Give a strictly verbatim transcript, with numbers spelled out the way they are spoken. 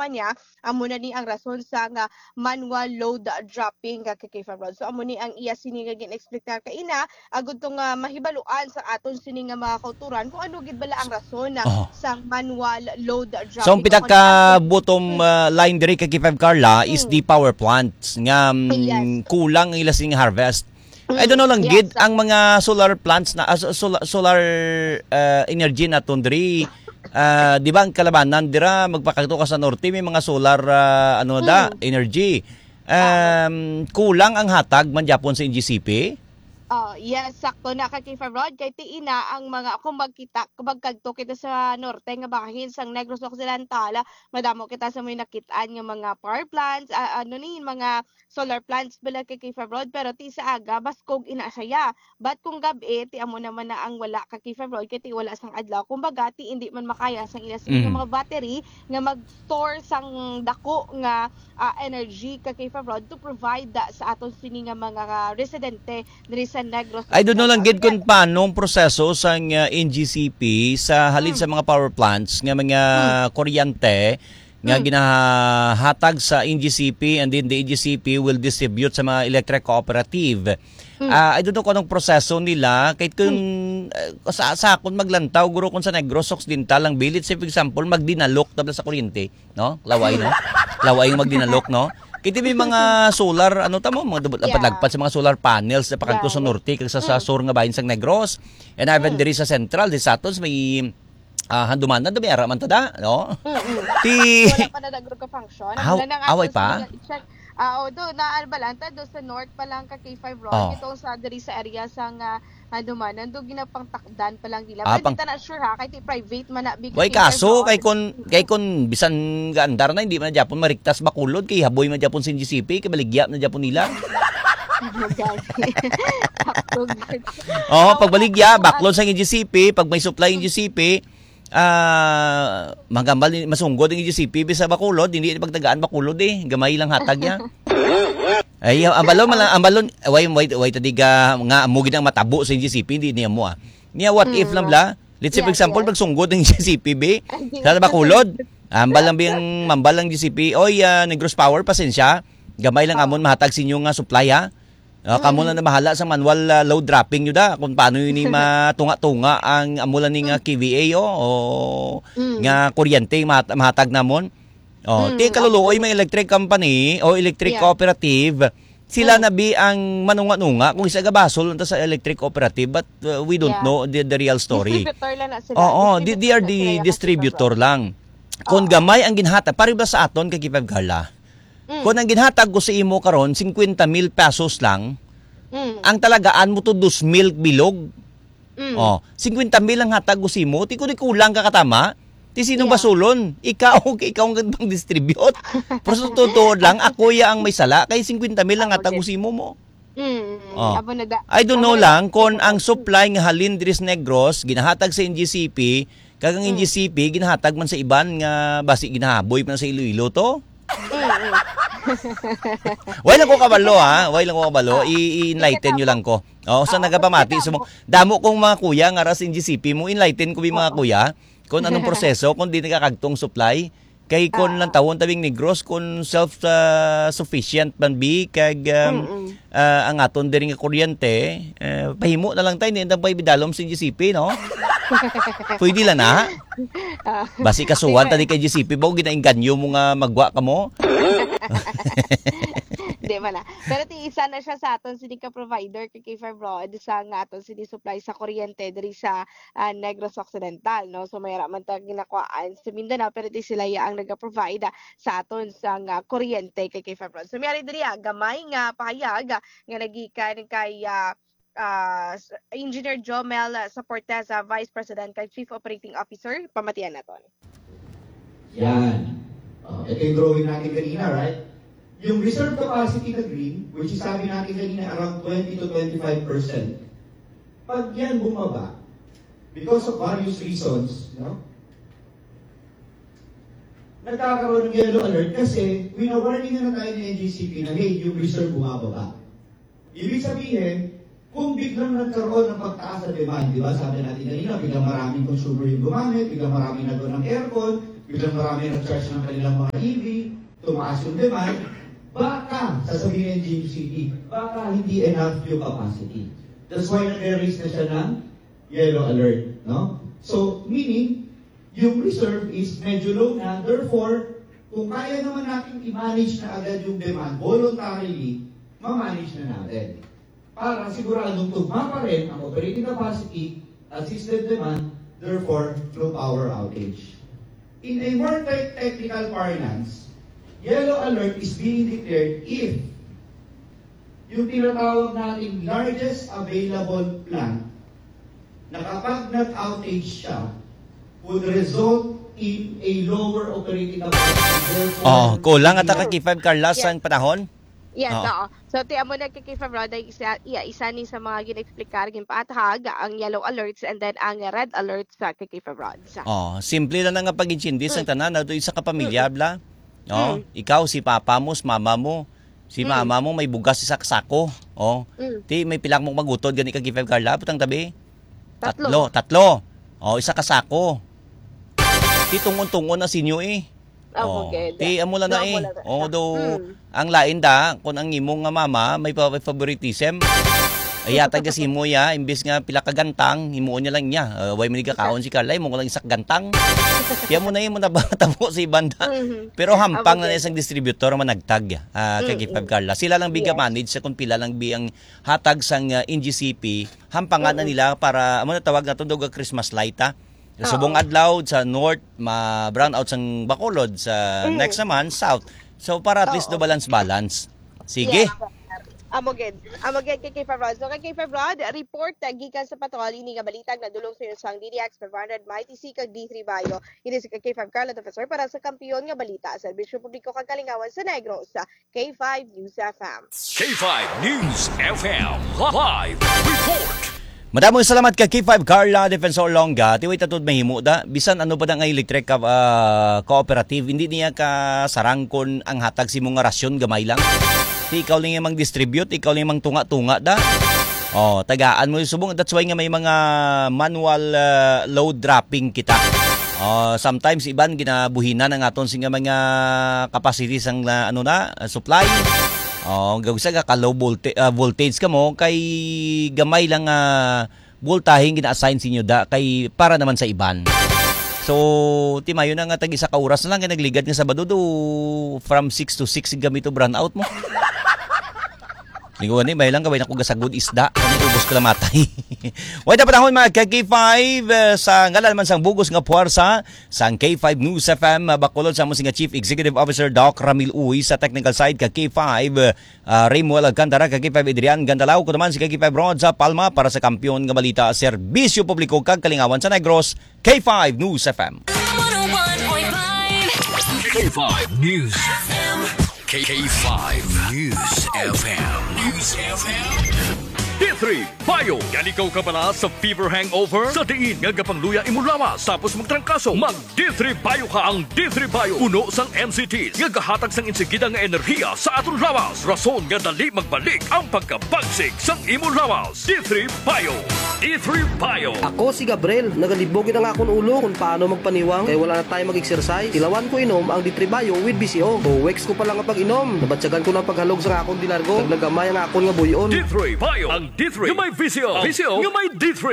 kumpanya, amo na ni ang rason sa nga manual load dropping, ka K five Rod. So, amo ni ang iya sini nga gin-explicar kaina, agud to nga mahibaluan sa aton sini nga mga kauturan kung ano gid bala ang rason na Aha. sang manual load dropping. So, ang pinaka bottom, uh, line diri kay K five Carla is Mm. the power plants nga, mm, Yes. kulang ang ila sini nga harvest. I don't know lang Mm, gid yes. ang mga solar plants na, ah, so-, sola-, solar, uh, energy naton diri. Ah, di ba ang kalabanan dira, magpakadto ka sa norte, may mga solar, ah, ano da, Mm. energy. Um, kulang ang hatag man gyapon sa N G C P? Oh, yes, sakto na ka, K five Rod. Kay ti ina ang mga, kung magkita, kung magkadto kita sa norte nga bahin sang Negros Occidental, madamo kita sa may nakitaan nga mga power plants, ah, ano ni, mga solar plants bala kay K five Rod, pero ti sa aga, baskog ina siya. But kung gab-i, ti amo naman na ang wala ka K five Rod, kay ti wala sang adlaw. Kumbaga, ti hindi man makaya sang ila sa Mm. mga battery nga mag-store sang dako nga, ah, energy ka K five Rod to provide, ah, sa aton sini nga mga residente diri sa Negros I don't know lang gid Occidental. kung paano ang proseso sang, ah, N G C P sa halin Mm. sa mga power plants nga mga Mm. kuryente nga Mm. ginahatag sa N G C P, and then the N G C P will distribute sa mga electric cooperative. Mm. Ah, I don't know kung anong proseso nila. Kay kung, Mm. ah, sa, sa akon maglantaw, guro, kung sa Negros Occidental lang, bilit, say, for example, magdinalok tabla sa kuryente, no? Laway, no? Laway yung magdinalok, no? Kiti may mga solar, ano tamo, mga dubot-, Yeah. lapad-lagpad sa mga solar panels na pakadto sa Right. norte kag sa, sa Mm. sur nga bahin sang Negros. And even Mm. diri sa central, di sa aton, may, ah, handumanan, may ara man ta da, no? Mm-mm. Ti Wala pa na nagro ka function. Aw, Wala na nga away ako sa pa? mga i-check. Ah, o, do, na, ano ba lang, ta, do sa north pa lang ka K five Rod. Oh. Ito sa, diri sa area sa nga, handumanan, do ginapangtakdan pa lang nila. Ah, Pero pang- di ta na sure, ha, kay ti private man na, big Way K five kaso, Rod. kay kun, kay kun bisan gaandar na, hindi man na gyapon mariktas Bacolod, kay haboy man gyapon sa N G C P, kay baligya na gyapon nila. Ano gani? Sakto gid. Oh, Tama pagbaligya, na. Baklon sa N G C P, pag may supply N G C P, ah, magambal ni, masunggod ang N G C P sa Bacolod, hindi pagtagaan Bacolod eh. Gamay lang hatag niya. Ay, ang balon, mala-, ang balon, way, way, way, tadiga, nga, amo gid ang matabo sa N G C P, hindi niya mo, ah. Niya, what if Mm, lang, no. bla? Let's say, for Yes, example, yes. pagsunggod ang N G C P, be, Ay, di sa na. Bacolod, ambal lang biyang, mambal lang N G C P, "Oy, ah, Negros Power, pasensya. Gamay lang Oo. amon mahatag sa inyo nga supply, ha? Ah, kamo Mm. lang na bahala sa manual, ah, load dropping nyo da, kung paano yun yung matunga-tunga ang amo lang ni nga Mm. K V A, oh, o Mm. nga kuryente yung mahat-, mahatag namon." Oh, Mm, ti kaluluoy, okay. may electric company o electric Yeah. cooperative, sila Mm. na bi ang manunga-nunga kung isa gabasol unta sa electric cooperative, but, uh, we don't Yeah. know the, the real story. Distributor lang na sila. Oo, di, Distributor they are lang the sila, distributor Kapitan Ron. lang. Kung Oo. gamay ang ginhatag, pare ba sa aton kay Kipag Carla? Mm. Kung ang ginhatag ko sa imo karon, cincuenta mil pesos lang, Mm. ang talagaan mo to dos mil bilog. Mm. Oh, cincuenta mil ang hatag ko sa imo, ti kung di kulang ka katama, ti sino Yeah. basulon? Ikaw, kay ikaw ang pang-distribute. Pero sa totoo lang, ako ya ang may sala, kay cincuenta mil ang Ako hatag ko din. sa imo mo. Mm, Oh. amo na da-, I don't amo know na lang da-, kung ang supply nga halin diri sa Negros, ginahatag sa N G C P, kag ang Mm. N G C P, ginahatag man sa iban nga basi ginahaboy man sa Iloilo to. Mm, mm. Way lang ko kabalo, ha? Way lang ko kabalo. Oh. I-, i-enlighten Sige, nyo lang ko. Oh, sa Oo, nagapamati sige, sa mo. Damo kong mga kuya nga ras N G C P mo, enlighten ko yung mga Oo. kuya kung anong proseso, kung di nakakagtong supply. Kay kung Ah. lang tawon tabing Negros, kung self, ah, sufficient man bi, kag, um, Mm-mm. ah, ang aton diri nga kuryente, eh, pahimo na lang tayo, hindi na tayo ibidalom sa N G C P, no? Pwede lang na. Ah. Basi kasuhan Di ba? ta di kay N G C P, ba, ginainganyo mo nga magwa ka mo? Di ba na? Pero ti isa na siya sa aton sini ka provider kay K five Rod sa nga aton sini supply sa kuryente diri sa, ah, Negros Occidental, no? So, may ra man ta ginakuhaan sa Mindanao, pero ti sila ya ang nag-provide, ah, sa aton sa nga kuryente kay K five Rod. So, may ari diri, ah, gamay nga pahayag, ah, nga nagikan kay, ah, ah, s-, Engineer Jomel, ah, Saporteza, Vice President kag Chief Operating Officer, pamatian naton. Yan. Oh, ito yung drawing natin kanina, right? Yung reserve capacity na green, which is sabi natin kanina, around twenty to twenty-five percent. Pag yan bumaba, because of various reasons, no? Nagkakaroon ng yellow alert kasi wina-warning na tayo ng N G C P na, "Hey, yung reserve bumababa." Ibig sabihin, kung biglang nagkaroon ng pagtaas sa demand, di ba, sabi natin kanina, biglang maraming consumer yung gumamit, biglang maraming nagkaroon ng aircon, Biglang marami nag-charge ng kanilang mga E V, tumaas yung demand, baka, sasabihin ng G M C D, baka hindi enough yung capacity. That's why nag-raise na siya ng yellow alert, no? So, meaning, yung reserve is medyo low na, therefore, kung kaya naman natin i-manage na agad yung demand voluntarily, ma-manage na natin. Para siguradong tugma pa rin ang operating capacity at system demand, therefore, no power outage. In a more te- technical parlance, yellow alert is being declared if yung tinatawag nating largest available plant na kapag nag-outage siya, would result in a lower operating capacity. Therefore, Oh, kulang ata hindi ka K five Carla Yeah. sang panahon. Yes, Oo. Oo. So, ti amo na kay K five Rod, ay isa, iya, isa ni sa mga gin-explicar, ginpaathag ang yellow alerts and then ang red alerts sa kay K five Rod. Oh, simple lang nga pag-intindi sang tanan, ato isa ka pamilya, bla. Oh, ikaw, si papa mo, si mama mo. Si mama mo may bugas isa ka sako. Oh, Mm. Ti may pila mo magutod gani ka K five Carla, butang tabi. Tatlo. Tatlo. Oh, isa ka sako. Ti tungon-tungon na sinyo eh. Ah, Oh, okay. Ti amo lang na Amo eh. lang na Oh, siya. do Mm. ang lain da kun ang imo nga mama may pa- favoritism. Ay yata kasi mo ya, imbis nga pila ka gantang, himuon niya lang niya. Uh, way man gakaon si Carla, mo lang isa ka gantang. Kaya mo na yun, mo nabata mo sa ibanda. Mhm. Pero hampang Amo na gid. Isang distributor man nagtag ah, kay Mm, K five mm. Carla. Sila lang biga Yes. manage sa kung pila lang bi ang hatag sang ah, N G C P, hampangan na Mm-mm. nila para amo na tawag nato dog Christmas light ah. Sa Oo. subong adlaw sa north, ma brown out sang Bacolod sa Mm. next naman south. So para at least Oo. do balance balance. Sige. Yes. Amo gid. Amo gid kay K five Rod. So kay K five Rod, report uh, gikan sa patrol ini nga balita nga nadulong sa inyo sang D D X five hundred, Mighty C kag D three Bayo. Ini si kay K five Carla Defensor para sa kampiyon nga balita, serbisyo publiko kag kalingawan sa Negros, sa K five News F M. K five News F M live report. Madamo salamat kay K five Carla Defensor Longga. Tiway tatod mahimo da. Bisan ano pa na nga electric ka, ah, cooperative, hindi niya ka sarangkon ang hatag si mo nga rasyon gamay lang. Ti ikaw lang yung mang distribute, ikaw lang yung mang tunga-tunga da. Oh, tagaan mo yung subong. That's why nga may mga manual ah, load dropping kita. Oh, sometimes iban ginabuhinan ang aton sing mga capacity sang ah, ano na, ah, supply. Oh, gawsa ka low volta- ah, voltage ka mo kay gamay lang ah, voltahe gina-assign sa inyo da kay para naman sa iban. So, timayo na nga tag isa ka oras na lang kay nagligad nga Sabado do from six to six gamit to brownout mo. Lingawan ni, may lang gawin ako gasagod isda. Kami ubos ko lang matay. Way na panahon mga ka K five, eh, sa ngalan man sang bugos nga puwersa, sang K five News F M, ah, bakulod sa among singa Chief Executive Officer Doc Ramil Uy, sa technical side ka K five, ah, Raymond Alcantara, ka K five Adrian Gandalaw, ko naman si ka K five Rod sa Palma para sa kampiyon nga balita, serbisyo publiko kag kalingawan sa Negros, K five News F M. one oh one point five K five News F M. K K five News F M. News F M. D three Bio. Ganigaw ka bala sa fever hangover? Sa diin nga gapangluya imo lawas tapos magtrangkaso? Mag D three Bio ka. Ang D three Bio puno sang M C Ts nga gahatag sang insigida nga enerhiya sa aton lawas, rason nga dali magbalik ang pagkabagsik sang imo lawas. D three Bio. D three Bio. Ako si Gabriel. Nagalibog gid ang akon ulo kung paano magpaniwang kay wala na tayo mag-exercise. Tilawan ko inom ang D three Bio with B C O. Two weeks ko pa lang ang pag-inom. Nabatyagan ko ng paghalog sa akon dilargo. Nagnagamay ang akon nga buyon. D three Bio. Ang D three nga may V C O. V C O nga may D three.